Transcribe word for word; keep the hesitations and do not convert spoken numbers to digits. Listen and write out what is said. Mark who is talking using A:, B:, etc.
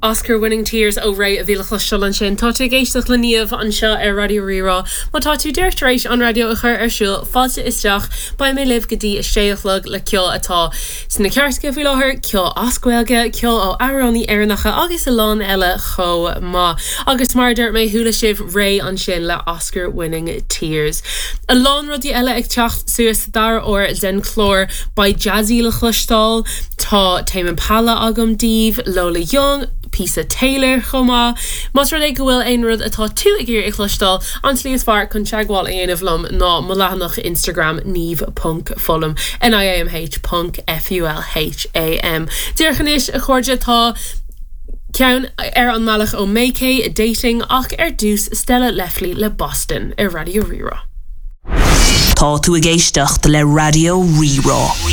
A: Oscar winning tears ó Raye a bhí le cloisteáil ansin Tá tú ag éisteacht le Niamh anseo ar Raidió Rí-Rá Má tá tú díreach tar éis an raidió a chur ar siúl fáilte isteach beidh mé libh go dtí a sé a chlog le ceol atá sna cairteacha faoi láthair ceol as Gaeilge ceol ó amhránaithe Éireannacha agus a lán eile chomh maith. Agus mar dúirt mé chuala sibh Raye ansin le Oscar winning tears. A lán rudaí eile ag teacht suas dara huair den chlár beidh Jazzy le cloisteáil tá Tame Impala agam daoibh Lola Young, píosa Taylor chomh maith. Más rud é go bhfuil aon rud atá tú ag iarraidh a chloisteáil an tslí is fearr chun teagmháil a dhéanamh liom ná mo leathanach Instagram niamh ponc fulham NIAMH ponc FULHAM. Díreach anois a chairde tá ceann ar an mbealach ó Mayke dating ach ar dtús Stella Lefley le Boston ar Raidió Rí-Rá.
B: Tá tú ag éisteacht le Raidió Rí-Rá.